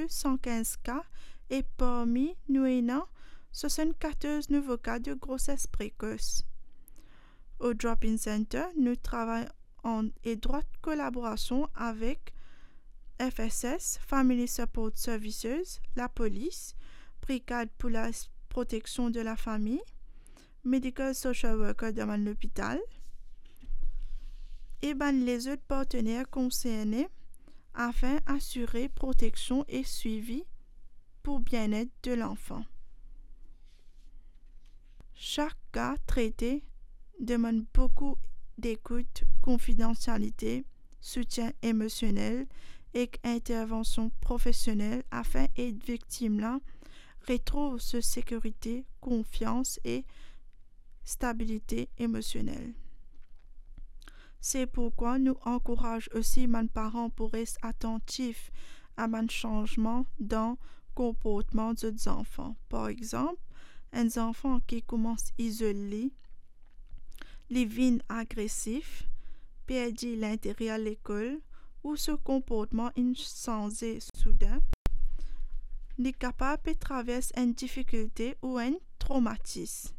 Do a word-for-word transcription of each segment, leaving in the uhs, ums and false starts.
san kinz ka e parmi nou ena swasann-katorz nouvo ka de groses prekos. O Drop-in Center, nou travay an etrwat kolaborasion avek F S S, Family Support Services, lapolis, Brigad pou la Proteksion de la Fami, medical social worker dan bann lopital e bann lezot partener konserne afin asire proteksion e swivi pou bienet de lanfan. Sak ka trete demann boukou dekout, konfidansialite, soutien emosionel ek intervansion profesionel afin ed viktim la retrouv so sekirite, konfians e stabilite emosionel. Se pourkwa nou ankouraz osi bann paran pou res atantif a bann sanzman dan konportman zot zanfan. Par exanp, enn zanfan ki koumans izol li, li vinn agresif, perdi lintere lekol ou so konportman inn sanze souden, li kapav pe travers enn difikilte ou enn tromatis.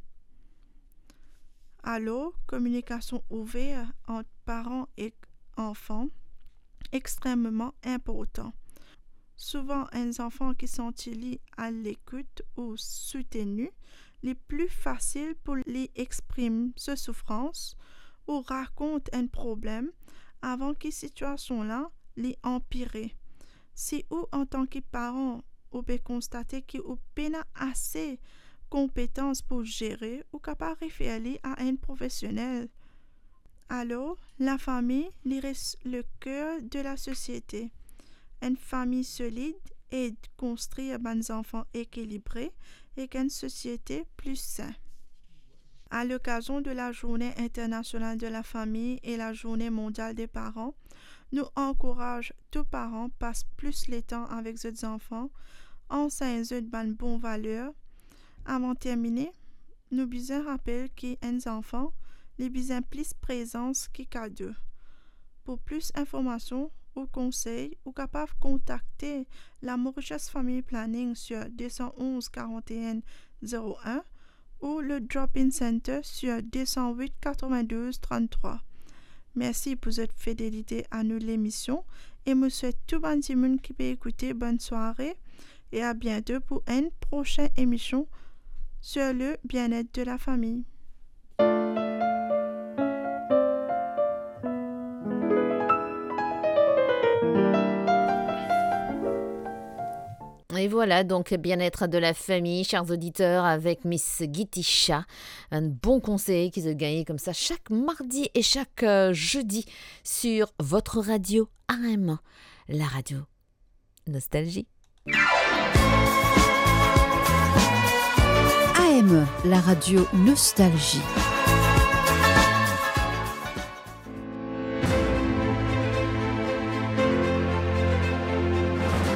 Alor, kominikasion ouver ant paran ek anfan extrememan inportan. Souvan, enn zanfan ki santi li alekout ou souteni, li pli fasil pou li exprim so soufrans ou rakont enn problem avan ki sitiasion la li anpire. Si ou, antan ki paran, ou pe konstate ki ou pena ase konpetans pou zere, ou kapav refer li a enn profesionel. Alor, lafami, li res leker de lasosiete. Enn fami solid ed konstrir bann zanfan ekilibre ek enn sosiete pli sin. A lokazion de la Journée Internationale de la Famille et la Journée Mondiale des Parents, nou ankouraz tou paran pas plis letan avek zot zanfan, ansegn zot bann bon valer. Avan termine, nou bizin rapel ki enn zanfan, li bizin plis prezans ki kado. Pou plis informasion ou konsey, ou kapav kontakte la Mauritius Family Planning sur deux cent onze quarante et un zéro un ou le Drop-in Center sur deux cent huit quatre-vingt-douze trente-trois. Mersi pou zot fidelite a nou lemision e mo swet tou bann dimoun ki pe ekoute, bonn sware e a biento pou enn prosin emision sur le bien-être de la famille. Et voilà, donc, bien-être de la famille, chers auditeurs, avec Miss Gitisha. Un bon conseil ki zot gagné comme ça chaque mardi et chaque, euh, jeudi sur votre radio A M, la radio Nostalgie. A M, la radio Nostalgie.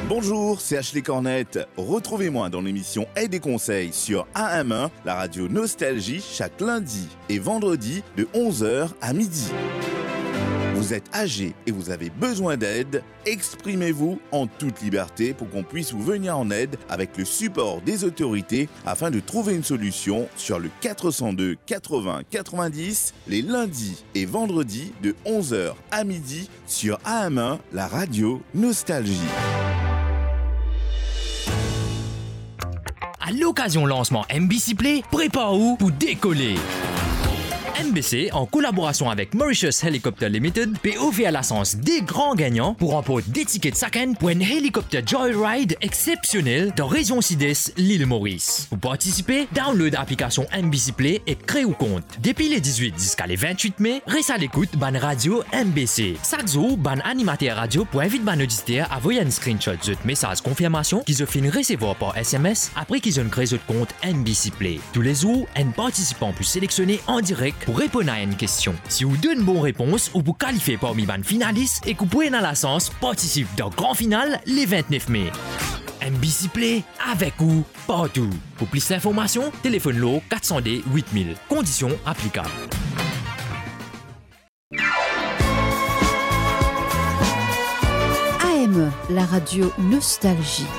Bonjour, c'est Ashley Cornette. Retrouvez-moi dans l'émission Aide et Conseils sur A M un, la radio Nostalgie, chaque lundi et vendredi de onze heures à midi. Vous êtes âgé et vous avez besoin d'aide ? Exprimez-vous en toute liberté pour qu'on puisse vous venir en aide avec le support des autorités afin de trouver une solution sur le quatre cent deux quatre-vingts quatre-vingt-dix, les lundis et vendredis de onze heures à midi sur A M un, la radio Nostalgie. A lokazion lansman M B C Play, prepar ou pou dekole. M B C, an kolaborasion avek Mauritius Helicopter Limited, pe ofer lasans de gran gagnan pou ranport de tiket sakenn pou enn helikopter joyride exsepsionel dan rezion Sides Lil Moris. Pou partisipe, download aplikasion M B C Play e kre ou kont. Depi le dizwit ziska le vintwit me, res a lekout bann radio M B C. Sak zour, bann animater radio pou invit bann oditer a voy enn screenshot zot mesaz konfirmasion ki zot finn resevwar par S M S apre ki zot inn kre zot kont M B C Play. Toulezour, enn partisipan pou selektione an direk pou reponn a enn kestion. Si ou donn bon repons, ou pou kalifie parmi bann finalis ek ou pou ena lasans partisip dan gran final le vintnef me. M B C Play, avek ou partou. Pou plis linformasion, telefonn lor kat san de wit mil. Kondision aplikab. A M, la radio Nostalgie.